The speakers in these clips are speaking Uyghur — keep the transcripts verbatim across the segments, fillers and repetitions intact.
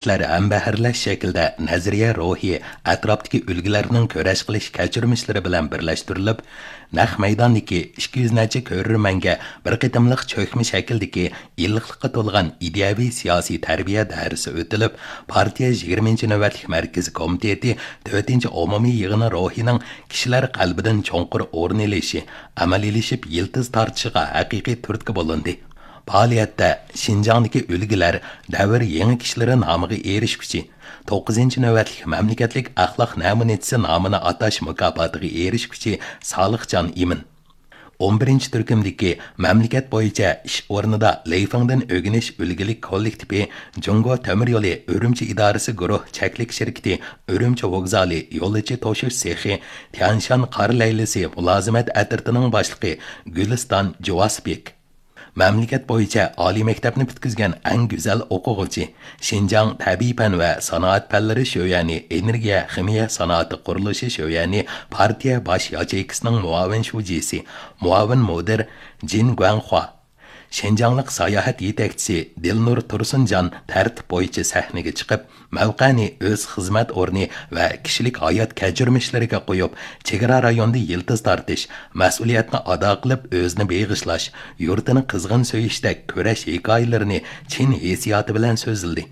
كىشىلەر ھەمبەھىرلەش شەكلىدە نەزەرىيە روھى ئەتراپتىكى ئۈلگىلەرنىڭ كۈرەش قىلىش كەچۈرمىشلىرى بىلەن بىرلەشتۈرۈلۈپ، نەق مەيداندىكى ئىككى يۈز نەچچە كۆرۈرمەنگە بىر قېتىملىق چۆكمە شەكىلدىكى ئىللىقلىققا تولغان ئىدىيەۋى سىياسىي تەربىيە دەرسى ئۆتۈلۈپ، پارتىيە يىگىرمىنچى نۆۋەتلىك مەركىزى كومىتېتى تۆتىنچى ئومۇمىي يىغىنى روھىنىڭ كىشىلەر قەلبىدىن چوڭقۇر ئورۇن ئېلىشى، ئەمەلىيلىشىپ يىلتىز تارتىشىغا ھەقىقىي تۈرتكە بولۇندى. پائالىيەتتە شىنجاڭدىكى ئۈلگىلەر دەۋر يېڭى كىشىلىرى نامىغا ئېرىشكۈچى، توققۇزىنچى نۆۋەتلىك مەملىكەتلىك ئەخلاق نەمۇنىچىسى نامىنى ئاتاش مۇكاپاتىغا ئېرىشكۈچى سالىھجان ئىمىن، ئون بىرىنچى تۈركۈمدىكى مەملىكەت بويىچە ئىش ئورنىدا لېيفېڭدىن ئۆگىنىش ئۈلگىلىك كوللېكتىپى، جۇڭگو تۆمۈر يولى ئۈرۈمچى ئىدارىسى گۇرۇھ چەكلىك شىركىتى ئۈرۈمچى ۋوگزالى يولۇچى توشۇش سېخى، تيەنشان قار لەيلىسى مۇلازىمەت ئەترىتىنىڭ باشلىقى گۈلىستان جۇۋاسبېك. مەملىكەت بويىچە ئالىي مەكتەپنى پۈتكۈزگەن ئەڭ گۈزەل ئوقۇغۇچى، شىنجاڭ تەبىئىي پەن ۋە سانائەت پەنلىرى شۆيۈەنى ئېنېرگىيە خىمىيە سانائىتى قۇرۇلۇشى شۆيۈەنى پارتىيە باش ياچېيكىسىنىڭ مۇئاۋىن شۇجىسى، مۇئاۋىن مۇدىر جىن گۇەنخۇا، شىنجاڭلىق ساياھەت يېتەكچىسى دىلنۇر تۇرسۇنجان تەرتىپ بويىچە سەھنىگە چىقىپ، مەۋقەنى ئۆز خىزمەت ئورنى ۋە كىشىلىك ھايات كەچۈرمىشلىرىگە قويۇپ، چېگرا رايوندا يىلتىز تارتىش، مەسئۇلىيەتنى ئادا قىلىپ ئۆزىنى بېغىشلاش، يۇرتىنى قىزغىن سۆيۈشتەك كۈرەش ھېكايىلىرىنى چىن ھېسسىياتى بىلەن سۆزلىدى.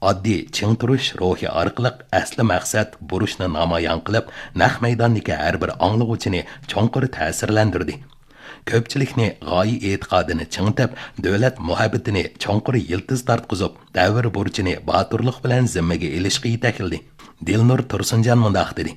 ئاددىي چىڭ تۇرۇش روھى ئارقىلىق ئەسلى مەقسەت، بۇرچنى نامايان قىلىپ، نەق مەيداندىكى ھەر بىر ئاڭلىغۇچىنى چوڭقۇر تەسىرلەندۈردى. كۆپچىلىكنى غايە ئېتىقادىنى چىڭىتىپ، دۆلەت مۇھەببىتىنى چوڭقۇر يىلتىز تارتقۇزۇپ، دەۋر بۇرچىنى باتۇرلۇق بىلەن زىممىگە ئېلىشقا يېتەكلىدى. دىلنۇر تۇرسۇنجان مۇنداق دېدى: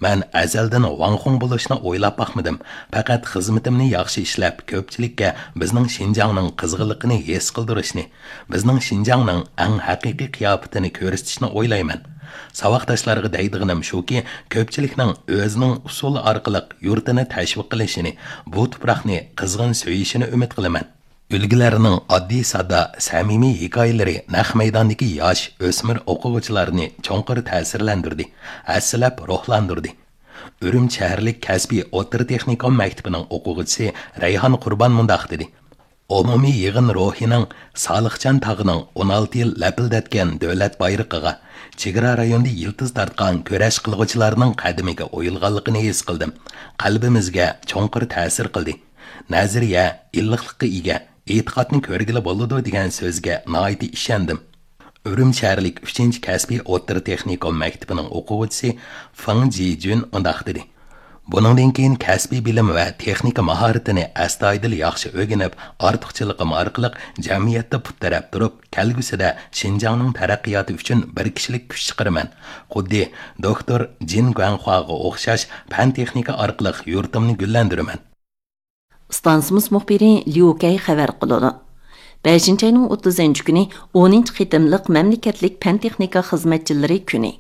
مەن ئەزەلدىن ۋاڭخۇڭ بولۇشنى ئويلاپ باقمىدىم. پەقەت خىزمىتىمنى ياخشى ئىشلەپ، كۆپچىلىككە بىزنىڭ شىنجاڭنىڭ قىزغىنلىقىنى ھېس قىلدۇرۇشنى، بىزنىڭ شىنجاڭنىڭ ئەڭ ھەقىقىي قىياپىتىنى كۆرسىتىشنى ئويلايمەن. ساۋاقداشلارغا دەيدىغىنىم شۇكى، كۆپچىلىكنىڭ ئۆزىنىڭ ئۇسۇلى ئارقىلىق يۇرتىنى تەشۋىق قىلىشىنى، بۇ تۇپراقنى قىزغىن سۆيۈشىنى ئۈمىد قىلىمەن. ئۈلگىلەرنىڭ ئاددىي ساددا، سەمىمىي ھېكايىلىرى نەق مەيداندىكى ياش، ئۆسمۈر ئوقۇغۇچىلارنى چوڭقۇر تەسىرلەندۈردى، ھەسسىلەپ روھلاندۇردى. ئۈرۈمچى شەھەرلىك كەسپىي ئوتتۇرا تېخنىكوم مەكتىپىنىڭ ئوقۇغۇچىسى رەيھان قۇربان مۇنداق دېدى: ئومۇمىي يىغىن روھىنىڭ سالىخجان تاغىنىڭ ئون ئالتە يىل لەپىلدەتكەن دۆلەت بايرىقىغا، چېگرا رايونىدا يىلتىز تارتقان كۈرەش قىلغۇچىلارنىڭ قەدىمىگە ئويۇلغانلىقىنى ھېس قىلدىم. قەلبىمىزگە چوڭقۇر تەسىر قىلدى. نەزەرىيە ئىللىقلىققا ئىگە، ئېتىقادنى كۆرگىلى بولىدۇ دېگەن سۆزگە ناھايىتى ئىشەندىم. ئۈرۈمچى شەھەرلىك ئۈچىنچى كەسپىي ئوتتۇرا تېخنىكوم مەكتىپىنىڭ ئوقۇغۇچىسى فېڭ جىجۈن مۇنداق دېدى: بۇنىڭدىن كېيىن كەسپىي بىلىم ۋە تېخنىكا ماھارىتىنى ئەستايىدىل ياخشى ئۆگىنىپ، ئارتۇقچىلىقىم ئارقىلىق جەمئىيەتتە پۇت تىرەپ تۇرۇپ، كەلگۈسىدە شىنجاڭنىڭ تەرەققىياتى ئۈچۈن بىر كىشىلىك كۈچ چىقىرىمەن. خۇددى دوكتور جىن گۇەنخۇاغا ئوخشاش پەن تېخنىكا ئارقىلىق يۇرتۇمنى گۈللەندۈرىمەن. ئىستانسىمىز مۇخبىرى ليۇ كەي خەۋەر قىلىدۇ. بەشىنچى ئاينىڭ ئوتتۇزىنچى كۈنى ئونىنچى قېتىملىق مەملىكەتلىك پەن تېخنىكا خىزمەتچىلىرى كۈنى.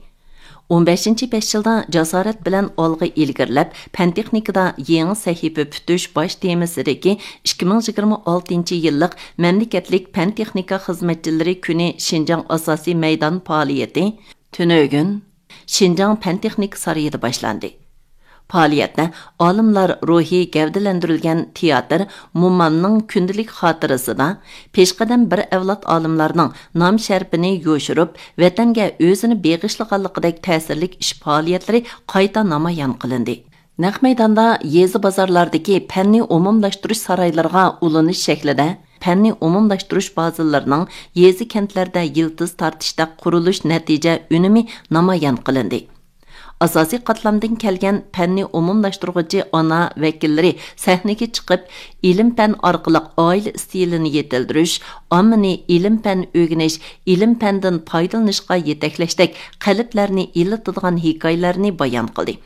ئون بەشىنچى بەش يىلدا جاسارەت بىلەن ئالغا ئىلگىرىلەپ، پەن تېخنىكىدا يېڭى سەھىپە پۈتۈش باش تېمىسىدىكى ئىككى مىڭ يىگىرمە ئالتىنچى يىللىق مەملىكەتلىك پەن تېخنىكا خىزمەتچىلىرى كۈنى شىنجاڭ ئاساسىي مەيدان پائالىيىتى تۈنۈگۈن شىنجاڭ پەن تېخنىكا سارىيىدا باشلاندى. پائالىيەتتە ئالىملار روھى گەۋدىلەندۈرۈلگەن تىياتىر مومامنىڭ كۈندىلىك خاتىرىسىدا پېشقەدەم بىر ئەۋلاد ئالىملارنىڭ نام شەرىپىنى يوشۇرۇپ، ۋەتەنگە ئۆزىنى بېغىشلىغانلىقىدەك تەسىرلىك ئىش پائالىيەتلىرى قايتا نامايان قىلىندى. نەق مەيداندا يېزا بازارلاردىكى پەننى ئومۇملاشتۇرۇش سارايلىرىغا ئۇلىنىش شەكلىدە پەننى ئومۇملاشتۇرۇش بازىلىرىنىڭ يېزا كەنتلەردە يىلتىز تارتىشتەك قۇرۇلۇش نەتىجە ئۈنۈمى نامايان قىلىندى. ئاساسىي قاتلامدىن كەلگەن پەننى ئومۇملاشتۇرغۇچى ئانا ۋەكىللىرى سەھنىگە چىقىپ، ئىلىم پەن ئارقىلىق ئائىلە ئىستىلىنى يېتىلدۈرۈش، ئاممىنى ئىلىم پەن ئۆگىنىش، ئىلىم پەندىن پايدىلىنىشقا يېتەكلەشتەك قەلبلەرنى ئىللىتىدىغان ھېكايىلەرنى بايان قىلدى.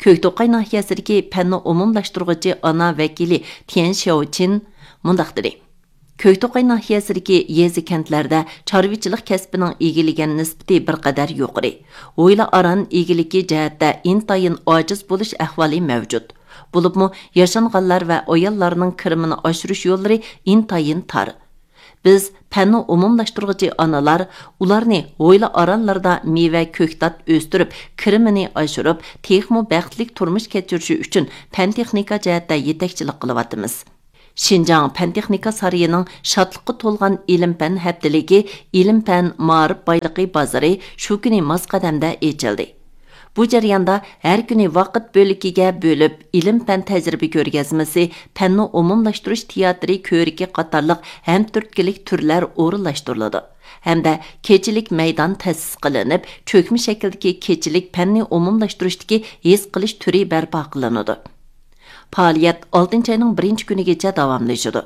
كۆكتوقاي ناھىيەسىدىكى پەننى ئومۇملاشتۇرغۇچى ئانا ۋەكىلى تيەن شياۋچىن مۇنداق دېدى: كۆكتوقاي ناھىيەسىدىكى يېزا كەنتلەردە چارۋىچىلىق كەسپىنىڭ ئىگىلىگەن نىسبىتى بىر قەدەر يۇقىرى، ھويلا ئاران ئىگىلىكى جەھەتتە ئىنتايىن ئاجىز بولۇش ئەھۋالى مەۋجۇت. بولۇپمۇ ياشانغانلار ۋە ئاياللارنىڭ كىرىمىنى ئاشۇرۇش يوللىرى ئىنتايىن تار. بىز پەننى ئومۇملاشتۇرغۇچى ئانىلار ئۇلارنى ھويلا ئارانلىرىدا مېۋە، كۆكتات ئۆستۈرۈپ، كىرىمىنى ئاشۇرۇپ، تېخىمۇ بەختلىك تۇرمۇش كەچۈرۈشى ئۈچۈن پەن تېخنىكا جەھەتتە يېتەكچىلىك قىلىۋاتىمىز. شىنجاڭ پەن تېخنىكا سارىيىنىڭ شادلىققا تولغان ئىلىم پەن ھەپتىلىكى ئىلىم پەن مائارىپ بايلىقى بازىرى شۇ كۈنى ماس قەدەمدە ئېچىلدى. بۇ جەرياندا ھەر كۈنى ۋاقىت بۆلىكىگە بۆلۈپ، ئىلىم پەن تەجرىبە كۆرگەزمىسى، پەننى ئومۇملاشتۇرۇش تېئاتىرى كۆرىكى قاتارلىق ھەمتۈرتكىلىك تۈرلەر ئورۇنلاشتۇرۇلىدۇ ھەمدە كېچىلىك مەيدان تەسىس قىلىنىپ، چۆكمە شەكىلدىكى كېچىلىك پەننى ئومۇملاشتۇرۇشتىكى ھېس قىلىش تۈرى بەرپا قىلىنىدۇ. پائالىيەت ئالتىنچى ئاينىڭ بىرىنچى كۈنىگىچە داۋاملىشىدۇ.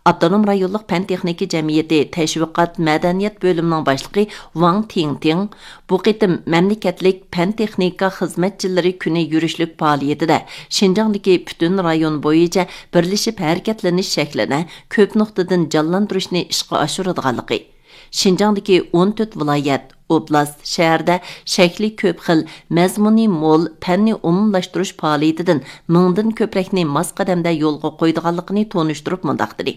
ئاپتونوم رايونلۇق پەن تېخنىكا جەمئىيىتى تەشۋىقات مەدەنىيەت بۆلۈمىنىڭ باشلىقى ۋاڭ تىڭتىڭ بۇ قېتىم مەملىكەتلىك پەن تېخنىكا خىزمەتچىلىرى كۈنى يۈرۈشلۈك پائالىيىتىدە شىنجاڭدىكى پۈتۈن رايون بويىچە بىرلىشىپ ھەرىكەتلىنىش شەكلىنى كۆپ نۇقتىدىن جانلاندۇرۇشنى ئىشقا ئاشۇرىدىغانلىقى، شىنجاڭدىكى ئون تۆت ۋىلايەت، ئوبلاست، شەھەردە شەكلى كۆپ خىل، مەزمۇنى مول، پەننى ئومۇملاشتۇرۇش پائالىيىتىدىن مىڭدىن كۆپرەكنى ماس قەدەمدە يولغا قويىدىغانلىقىنى تونۇشتۇرۇپ مۇنداق دېدى: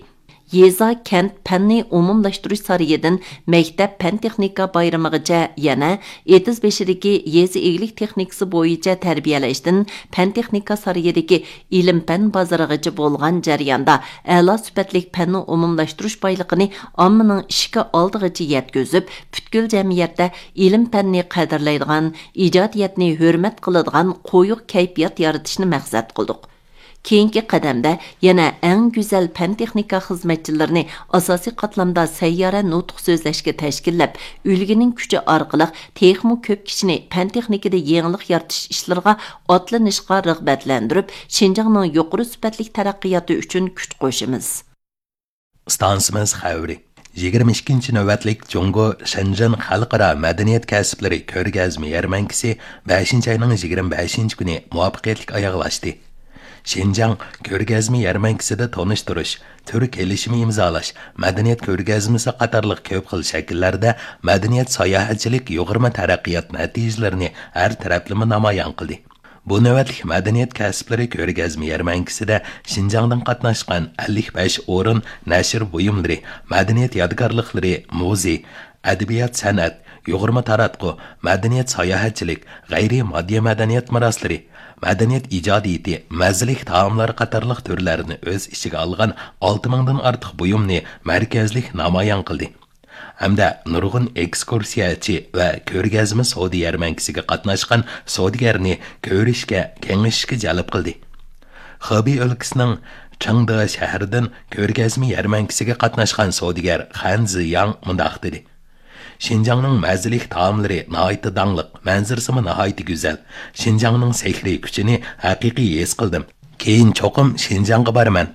يېزا، كەنت پەننى ئومۇملاشتۇرۇش سارىيىدىن مەكتەپ پەن تېخنىكا بايرىمىغىچە، يەنە ئېتىز بېشىدىكى يېزا ئىگىلىك تېخنىكىسى بويىچە تەربىيەلەشتىن پەن تېخنىكا سارىيىدىكى ئىلىم پەن بازىرىغىچە بولغان جەرياندا ئەلا سۈپەتلىك پەننى ئومۇملاشتۇرۇش بايلىقىنى ئاممىنىڭ ئىشىكى ئالدىغىچە يەتكۈزۈپ، پۈتكۈل جەمئىيەتتە ئىلىم پەننى قەدىرلەيدىغان، ئىجادىيەتنى ھۆرمەت قىلىدىغان قويۇق كەيپىيات يارىتىشنى مەقسەت قىلدۇق. كېيىنكى قەدەمدە يەنە ئەڭ گۈزەل پەن تېخنىكا خىزمەتچىلىرىنى ئاساسىي قاتلامدا سەييارە نۇتۇق سۆزلەشكە تەشكىللەپ، ئۈلگىنىڭ كۈچى ئارقىلىق تېخىمۇ كۆپ كىشىنى پەن تېخنىكىدا يېڭىلىق يارىتىش ئىشلىرىغا ئاتلىنىشقا رىغبەتلەندۈرۈپ، شىنجاڭنىڭ يۇقىرى سۈپەتلىك تەرەققىياتى ئۈچۈن كۈچ قوشىمىز. ئىستانسىمىز خەۋىرى. يىگىرمە ئىككىنچى نۆۋەتلىك جۇڭگو شېنجېن خەلقئارا مەدەنىيەت كەسىپلىرى كۆرگەزمە يەرمەنكىسى بەشىنچى ئاينىڭ يىگىرمە بەشىنچى كۈنى مۇۋەپپەقىيەتلىك ئاياغلاشتى. شىنجاڭ كۆرگەزمە يەرمەنكىسىدە تونۇشتۇرۇش، تۈر كېلىشىمى ئىمزالاش، مەدەنىيەت كۆرگەزمىسى قاتارلىق كۆپ خىل شەكىللەردە مەدەنىيەت ساياھەتچىلىك يۇغۇرما تەرەققىيات نەتىجىلىرىنى ھەر تەرەپلىمە نامايان قىلدى. بۇ نۆۋەتلىك مەدەنىيەت كەسىپلىرى كۆرگەزمە يەرمەنكىسىدە شىنجاڭدىن قاتناشقان ئەللىك بەش ئورۇن نەشر بۇيۇملىرى، مەدەنىيەت يادىكارلىقلىرى، مۇزېي، ئەدەبىيات سەنئەت، يۇغۇرما تاراتقۇ، مەدەنىيەت ساياھەتچىلىك، غەيرىي ماددىي مەدەنىيەت مىراسلىرى، مەدەنىيەت ئىجادىيىتى، مەززىلىك تائاملار قاتارلىق تۈرلەرنى ئۆز ئىچىگە ئالغان ئالتە مىڭدىن ئارتۇق بۇيۇمنى مەركەزلىك نامايان قىلدى. ھەمدە نۇرغۇن ئېكسكۇرسىيەچى ۋە كۆرگەزمە سودا يەرمەنكىسىگە قاتناشقان سودىگەرنى كۆرۈشكە، كېڭىشىشكە جەلپ قىلدى. خېبېي ئۆلكىسىنىڭ چېڭدې شەھىرىدىن كۆرگەزمە يەرمەنكىسىگە قاتناشقان سودىگەر خەن زىياڭ مۇنداق دېدى: شىنجاڭنىڭ مەززىلىك تائاملىرى ناھايىتى داڭلىق، مەنزىرىسىمۇ ناھايىتى گۈزەل. شىنجاڭنىڭ سېھرىي كۈچىنى ھەقىقىي ھېس قىلدىم. كېيىن چوقۇم شىنجاڭغا بارىمەن.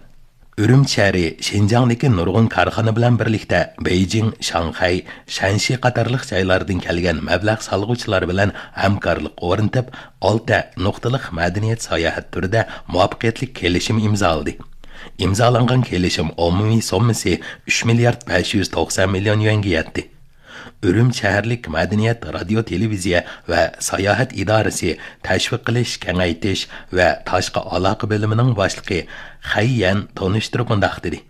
ئۈرۈمچى شەھىرى شىنجاڭدىكى نۇرغۇن كارخانا بىلەن بىرلىكتە بېيجىڭ، شاڭخەي، شەنشى قاتارلىق جايلاردىن كەلگەن مەبلەغ سالغۇچىلار بىلەن ھەمكارلىق ئورنىتىپ، ئالتە نۇقتىلىق مەدەنىيەت ساياھەت تۈرىدە مۇۋەپپەقىيەتلىك كېلىشىم ئىمزالىدى. ئىمزالانغان كېلىشىم ئومۇمىي سوممىسى ئۈچ مىليارد بەش يۈز توقسان مىليون يۈەنگە يەتتى. ئۈرۈمچى شەھەرلىك مەدەنىيەت، رادىيو، تېلېۋىزىيە ۋە ساياھەت ئىدارىسى تەشۋىق قىلىش، كېڭەيتىش ۋە تاشقى ئالاقە بۆلۈمىنىڭ باشلىقى خەي يەن تونۇشتۇرۇپ مۇنداق دېدى: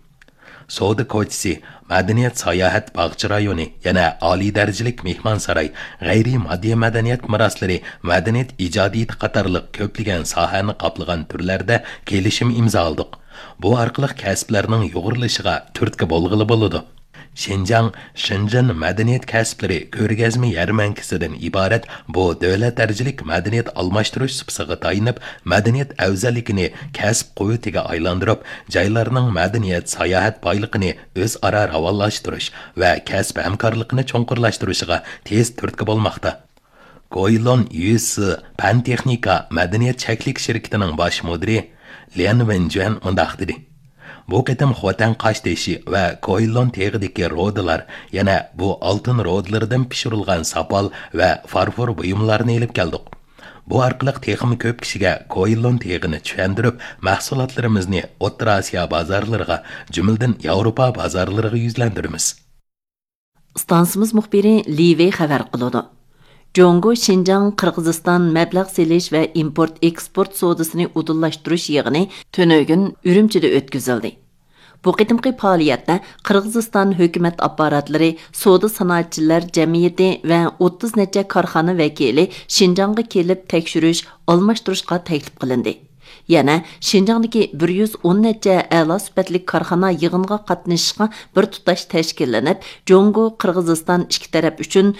سودا كوچىسى، مەدەنىيەت ساياھەت باغچە رايونى، يەنە ئالىي دەرىجىلىك مېھمانساراي، غەيرىي ماددىي مەدەنىيەت مىراسلىرى، مەدەنىيەت ئىجادىيىتى قاتارلىق كۆپلىگەن ساھەنى قاپلىغان تۈرلەردە كېلىشىم ئىمزالىدۇق. بۇ ئارقىلىق كەسىپلەرنىڭ يۇغۇرۇلۇشىغا تۈرتكە بولغىلى بولىدۇ. شىنجاڭ، شېنجېن مەدەنىيەت كەسىپلىرى كۆرگەزمە يەرمەنكىسىدىن ئىبارەت بۇ دۆلەت دەرىجىلىك مەدەنىيەت ئالماشتۇرۇش سۇپىسىغا تايىنىپ، مەدەنىيەت ئەۋزەللىكىنى كەسىپ قۇۋۋىتىگە ئايلاندۇرۇپ، جايلارنىڭ مەدەنىيەت ساياھەت بايلىقىنى ئۆزئارا راۋانلاشتۇرۇش ۋە كەسىپ ھەمكارلىقىنى چوڭقۇرلاشتۇرۇشىغا تېز تۈرتكە بولماقتا. گويلون يۈسى پەن تېخنىكا مەدەنىيەت چەكلىك شىركىتىنىڭ باش مۇدىرى ليەن ۋېنجۈەن مۇنداق دېدى: بۇ قېتىم خوتەن قاشتېشى ۋە گويلون تېغىدىكى رۇدىلار، يەنە بۇ ئالتۇن رۇدىلىرىدىن پىشۇرۇلغان ساپال ۋە فارفور بۇيۇملارنى ئېلىپ كەلدۇق. بۇ ئارقىلىق تېخىمۇ كۆپ كىشىگە گويلون تېغىنى چۈشەندۈرۈپ، مەھسۇلاتلىرىمىزنى ئوتتۇرا ئاسىيا بازارلىرىغا، جۈملىدىن ياۋروپا بازارلىرىغا يۈزلەندۈرىمىز. ئىستانسىمىز مۇخبىرى لى ۋېي خەۋەر قىلىدۇ. جۇڭگو شىنجاڭ قىرغىزىستان مەبلەغ سېلىش ۋە ئىمپورت ئېكسپورت سودىسىنى ئۇدۇللاشتۇرۇش يىغىنى تۈنۈگۈن ئۈرۈمچىدە ئۆتكۈزۈلدى. بۇ قېتىمقى پائالىيەتتە قىرغىزىستان ھۆكۈمەت ئاپپاراتلىرى، سودا سانائەتچىلەر جەمئىيىتى ۋە ئوتتۇز نەچچە كارخانا ۋەكىلى شىنجاڭغا كېلىپ تەكشۈرۈش، ئالماشتۇرۇشقا تەكلىپ قىلىندى. يەنە شىنجاڭدىكى بىر يۈز ئون نەچچە ئەلا سۈپەتلىك كارخانا يىغىنغا قاتنىشىشقا بىر تۇتاش تەشكىللىنىپ، جۇڭگو، قىرغىزىستان ئىككى تەرەپ ئۈچۈن